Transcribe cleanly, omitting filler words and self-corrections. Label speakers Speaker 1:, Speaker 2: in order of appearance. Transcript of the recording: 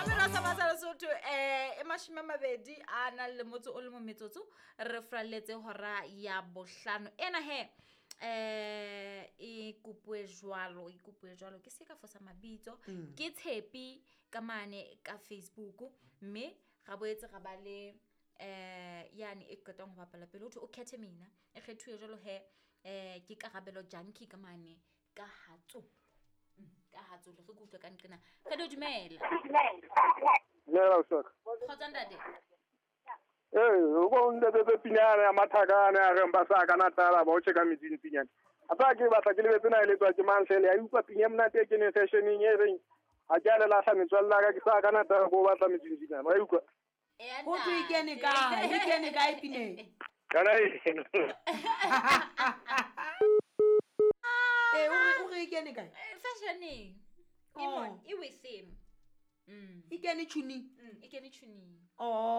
Speaker 1: Mamelo sa matsa Lesotho e 20 a nang le motso o le mo metsotso re fralletse hora ya bohlano ena he e kopuwe jwalo e kopuwe jwalo ke se ka fosa mabitso ke Tshepi ka mane ka Facebook mme ra boetse ra ba le yane e qetang ho bapala pele ho thwe o khethe mina e kgethuwe jwalo he ke Karabelo Junkie ka mane ka Hatsolo. Ka Hatsolo re kutlwe ka nqena re do dumela.
Speaker 2: Dumela Osaka.
Speaker 1: Kgotsa ntate.
Speaker 2: O bo ntate pinyana ya mathakana ya reng ba sa kana tala ba o tjeka metsing pinyana. A tsa ke batla ke lebetse na eletswa ke mang hle le ya utlwa pinya monate e keneng fashioneng e reng ha ke a le lahla metswalle ya ka ke sa kana tala bo batla metsing pinyana. Wa utlwa?
Speaker 3: Ho thwe e kene kae? E kene kae pineng?
Speaker 2: Kana e.
Speaker 3: O re e kene kae?
Speaker 1: Fashioneng. E
Speaker 3: Oh.
Speaker 1: mon, e within.
Speaker 3: E kene tuning.
Speaker 1: E kene tuning.
Speaker 3: Oh.